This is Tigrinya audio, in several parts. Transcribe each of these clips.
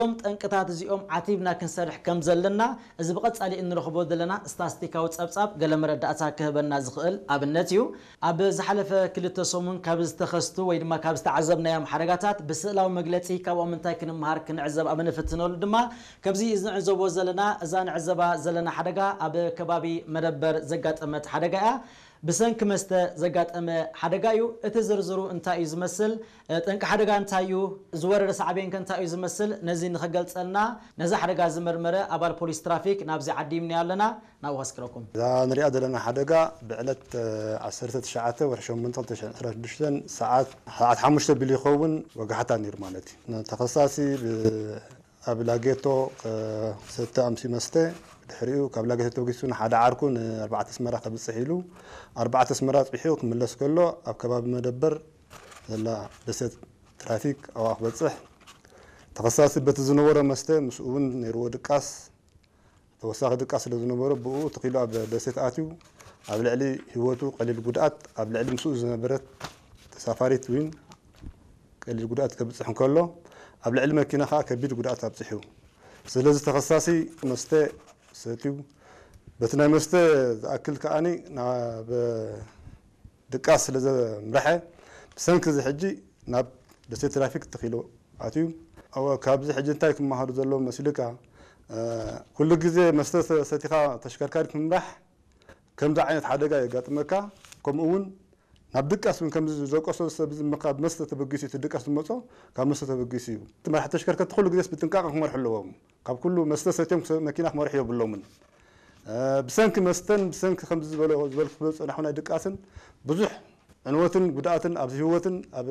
እዞም ጠንቅታት እዚኦም ዓቲብና ክንሰርሕ ከም ዘለና፣ እዚ ብቐጻሊ እንረኽቦ ዘለና ስታስቲካዊ ጸብጻብ ገለ መረዳእታ ክህበና ዝኽእል ኣብነት እዩ። ኣብ ዝሓለፈ ክልተ ሰሙን ካብ ዝተኸስቱ ወይ ድማ ካብ ዝተዓዘብናዮም ሓደጋታት ብስእላዊ መግለጺ ካብኦም እንታይ ክንምሃር ክንዕዘብ ኣብ እንፍትነሉ ድማ፣ ከምዚ እዚ ንዕዘቦ ዘለና፣ እዛ ንዕዘባ ዘለና ሓደጋ ኣብ ከባቢ መደበር ዘጋጠመት ሓደጋ እያ። ብሰንኪ መስተ ዘጋጠመ ሓደጋ እዩ። እቲ ዝርዝሩ እንታይ እዩ ዝመስል? ጠንቂ ሓደጋ እንታይ እዩ? ዝወረደ ሳዕቤን ከ እንታይ እዩ ዝመስል? ነዚ ንኽገልጸልና፣ ነዚ ሓደጋ ዝመርመረ ኣባል ፖሊስ ትራፊክ ናብዚ ዓዲምናዮ ኣለና። ናብኡ ከስክረኩም። እዛ ንሪኣ ዘለና ሓደጋ ብዕለት ዓሰርተ ትሽዓተ ወርሒ ሸሞንተ ክልተ ሽሕን ዕስራን ሽዱሽተን ሰዓት፣ ሰዓት ሓሙሽተ ቢሉ ይኸውን፣ ወጋሕታ ነይሩ ማለት እዩ። ተኸሳሲ ብ-፣ ኣብ ላጌቶ፣ እ፣ ሰተ ኣምሲ መስተ፣ ድሕሪኡ ካብ ላጌቶ ተበጊሱ ንሓደ ዓርኩ ንኣርባዕተ ኣስመራ ከብጽሕ ኢሉ፣ ኣርባዕተ ኣስመራ ጽሒሑ ክምለስ ከሎ፣ ኣብ ከባቢ መደበር ዘላ ደሴት ትራፊክ ኣብኣ ክበጽሕ፣ ተኸሳሲ በቲ ዝነበሮ መስተ ምስኡ እውን ነይርዎ ድቃስ፣ ተወሳኺ ድቃስ ስለ ዝነበሮ፣ ብኡ ተኺሉ ኣብ ደሴት ኣትዩ፣ ኣብ ልዕሊ ህይወቱ ቀሊል ጉድኣት፣ ኣብ ልዕሊ ምስኡ ዝነበረት ተሳፋሪት እውን ቀሊል ጉድኣት ከብጽሕ እንከሎ፣ ኣብ ልዕሊ መኪና ከኣ ከቢድ ጉድኣት ኣብጺሑ። ስለዚ ተኸሳሲ መስተ ሰትዩ፣ በቲ ናይ መስተ ዝኣክል ከኣኒ ናብ ድቃስ ስለ ዘምርሐ፣ ብሰንኪ እዚ ሕጂ ናብ ደሴት ትራፊክ ተኺሉ ኣትዩ። ኣብ-፣ ካብዚ ሕጂ እንታይ ክመሃሩ ዘለዎ መሲልካ? እ፣ ኩሉ ግዜ መስተ ሰ-፣ ሰቲኻ ተሽከርካሪ ምምራሕ ከምዚ ዓይነት ሓደጋ የጋጥመካ። ከምኡ እውን ናብ ድቃስ እውን ከምዚ ዝደቀሶ ሰብ እዚ ካብ መስተ ተበጊሱ እዩ፣ እቲ ድቃስ ዝመጾ ካብ መስተ ተበጊሱ እዩ። እቲ መራሕቲ ተሽከርከርቲ ኩሉ ግዜስ ብጥንቃቐ ክመርሑ ኣለዎም። ካብ ኩሉ መስተ ሰትዮም ክሰ-፣ መኪና ክመርሑ የብሎምን። እ፣ ብሰንኪ መስተን ብሰንኪ ከምዚ ዝበሎ-፣ ዝበልኩ ዝበሎ ዝጸናሑ ናይ ድቃስን ብዙሕ ዕንወትን ጉድኣትን ኣብ ህይወትን ኣብ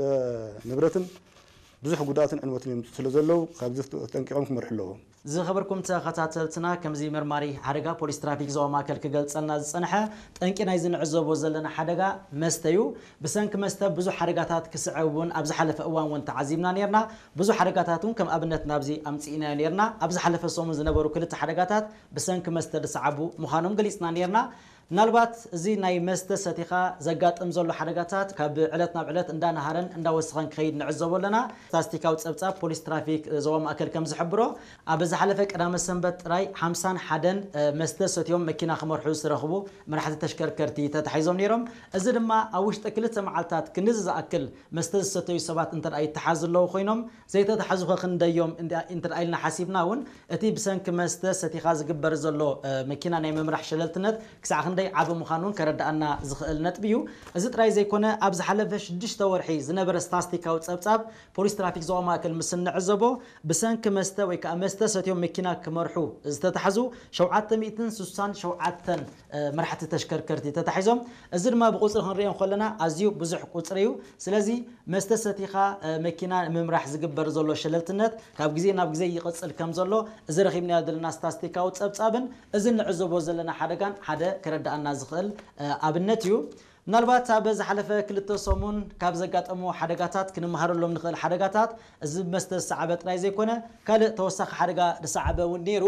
ንብረትን ብዙሕ ጉድኣትን ዕንወትን የምጽኡ ስለ ዘለዉ፣ ካብዚ ተጠንቂቖም ክመርሑ ኣለዎም። ዝኸበርኩም ተኸታተልትና፣ ከምዚ መርማሪ ሓደጋ ፖሊስ ትራፊክ ዞባ ማእከል ክገልጸልና ዝጸንሐ፣ ጠንቂ ናይዚ ንዕዘቦ ዘለና ሓደጋ መስተ እዩ። ብሰንኪ መስተ ብዙሕ ሓደጋታት ክስዕብ እውን ኣብ ዝሓለፈ እዋን እውን ተዓዚብና ነይርና። ብዙሕ ሓደጋታት እውን ከም ኣብነት ናብዚ ኣምጺእናዮ ነይርና። ኣብ ዝሓለፈ ሰሙን ዝነበሩ ክልተ ሓደጋታት ብሰንኪ መስተ ዝሰዓቡ ምዃኖም ገሊጽና ነይርና። ምናልባት እዚ ናይ መስተ ሰቲኻ ዘጋጥም ዘሎ ሓደጋታት ካብ ዕለት ናብ ዕለት እንዳነሃረን እንዳወሰኸን ክኸይድ ንዕዘቦ ኣለና። ስታስቲካዊ ጸብጻብ ፖሊስ ትራፊክ ዞባ ማእከል ከም ዝሕብሮ፣ ኣብ ዝሓለፈ ቀዳመ ሰንበት ጥራይ ሓምሳን ሓደን፣ እ፣ መስተ ሰትዮም መኪና ክመርሑ ዝተረኽቡ መራሕቲ ተሽከርከርቲ ተታሒዞም ነይሮም። እዚ ድማ ኣብ ውሽጢ ክልተ መዓልታት ክንድዚ ዝኣክል መስተ ዝሰተዩ ሰባት እንተ ደኣ ይተሓዙ ኣለዉ ኮይኖም፣ ዘይተታሕዙ ኸ ክንደዮም እንተ፣ እንተ ደኣ ኢልና ሓሲብና እውን፣ እቲ ብሰንኪ መስተ ሰቲኻ ዝግበር ዘሎ፣ እ፣ መኪና ናይ ምምራሕ ሸለልትነት ክሳዕ ክንደይ ዓቢ ምዃኑ እውን ከረድኣና ዝኽእል ነጥቢ እዩ። እዚ ጥራይ ዘይኮነ፣ ኣብ ዝሓለፈ ሽዱሽተ ወርሒ ዝነበረ ስታስቲካዊ ጸብጻብ ፖሊስ ትራፊክ ዞባ ማእከል ምስ እንዕዘቦ፣ ብሰንኪ መስተ ወይ ከኣ መስተ ሰትዮም መኪና ክመርሑ ዝተታሕዙ ሸውዓተ ሚእትን ስሳን ሸውዓተን፣ እ፣ መራሕቲ ተሽከርከርቲ ተታሒዞም። እዚ ድማ ብቁጽሪ ክንሪኦ እንከለና ኣዝዩ ብዙሕ ቁጽሪ እዩ። ስለዚ መስተ ሰቲኻ፣ እ፣ መኪና ንምምራሕ ዝግበር ዘሎ ሸለልትነት ካብ ግዜ ናብ ግዜ ይቕጽል ከም ዘሎ፣ እዚ ረኺብናዮ ዘለና ስታስቲካዊ ጸብጻብን እዚ እንዕዘቦ ዘለና ሓደጋን ሓደ ከረድኣና ዝኽእል፣ እ፣ ኣብነት እዩ። ምናልባት ኣብ ዝሓለፈ ክልተ ሰሙን ካብ ዘጋጠሙ ሓደጋታት፣ ክንመሃረሎም ንኽእል ሓደጋታት፣ እዚ ብመስተ ዝሰዓበ ጥራይ ዘይኮነ፣ ካልእ ተወሳኺ ሓደጋ ዝሰዓበ እውን ነይሩ።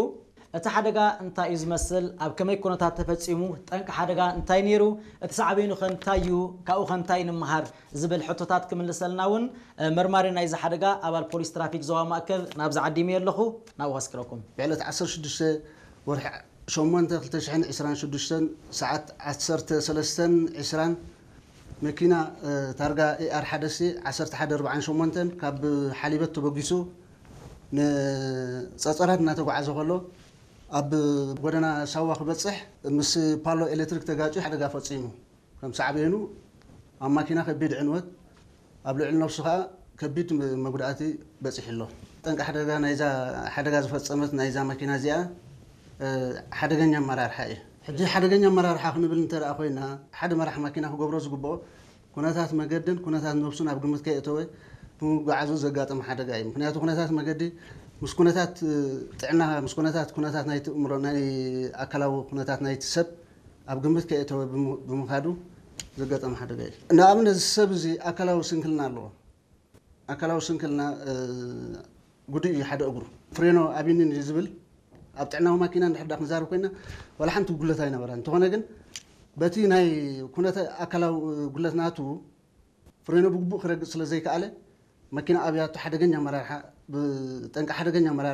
እቲ ሓደጋ እንታይ እዩ ዝመስል? ኣብ ከመይ ኩነታት ተፈጺሙ? ጠንቂ ሓደጋ እንታይ ነይሩ? እቲ ሳዕቤኑ ከ እንታይ እዩ? ካብኡ ከ እንታይ ንምሃር? ዝብል ሕቶታት ክምልሰልና እውን፣ እ፣ መርማሪ ናይዚ ሓደጋ ኣባል ፖሊስ ትራፊክ ዞባ ማእከል ናብዚ ዓዲመዮ ኣለኹ። ናብኡ ከስክረኩም። ብዕለት ዓሰርተ ሽዱሽተ ወርሒ ሸሞንተ ክልተ ሽሕን ዕስራን ሽዱሽተን ሰዓት ዓሰርተ ሰለስተን ዕስራን መኪና፣ እ፣ ታርጋ ኤ ኣር ሓደ ሲ ዓሰርተ ሓደ ኣርባዓን ሸሞንተን ካብ ሓሊበት ተበጊሱ ንጸጸራት እናተጓዓዘ ከሎ፣ ኣብ ጎደና ሳዋ ክበጽሕ ምስ ፓሎ ኤሌክትሪክ ተጋጭዩ ሓደጋ ፈጺሙ። ከም ሳዕቤኑ ኣብ ማኪና ከቢድ ዕንወት፣ ኣብ ልዕሊ ነብሱ ከኣ ከቢድ መጉዳእቲ በጺሑ ኣሎ። ጠንቂ ሓደጋ ናይዛ ሓደጋ ዝፈጸመት ናይዛ ማኪና እዚኣ፣ እ፣ ሓደገኛ ኣመራርሓ እዩ። ሕጂ ሓደገኛ ኣመራርሓ ክንብል እንተ ደኣ ኮይና፣ ሓደ መራሕ ማኪና ክገብሮ ዝግብኦ፣ ኩነታት መገድን ኩነታት ነብሱን ኣብ ግምት ከየእተወ ብምጉዓዙ ዘጋጠመ ሓደጋ እዩ። ምኽንያቱ ኩነታት መገዲ ምስ ኩነታት፣ እ፣ ጥዕና፣ ምስ ኩነታት፣ ኩነታት ናይቲ እምሮ፣ ናይ ኣካላዊ ኩነታት ናይቲ ሰብ ኣብ ግምት ከየእተወ ብም-፣ ብምኻዱ ዘጋጠመ ሓደጋ እዩ። ንኣብነት፣ እዚ ሰብ እዚ ኣካላዊ ስንክልና ኣለዎ። ኣካላዊ ስንክልና፣ እ፣ ጉዱእ እዩ ሓደ እግሩ። ፍሬኖ ኣቢኒን እዩ ዝብል። ኣብ ጥዕናዊ ማኪና እንድሕር ዳ ክንዛረብ ኮይና፣ ዋላ ሓንቲ ጉድለት ኣይነበራን። እንተኾነ ግን፣ በቲ ናይ ኩነተ ኣካላዊ ጉድለት ናቱ፣ ፍሬኖ ብግቡእ ክረግጽ ስለ ዘይከኣለ፣ መኪና ኣብያቱ ሓደገኛ ኣመራርሓ፣ ብጠንቂ ሓደገኛ ኣመራርሓ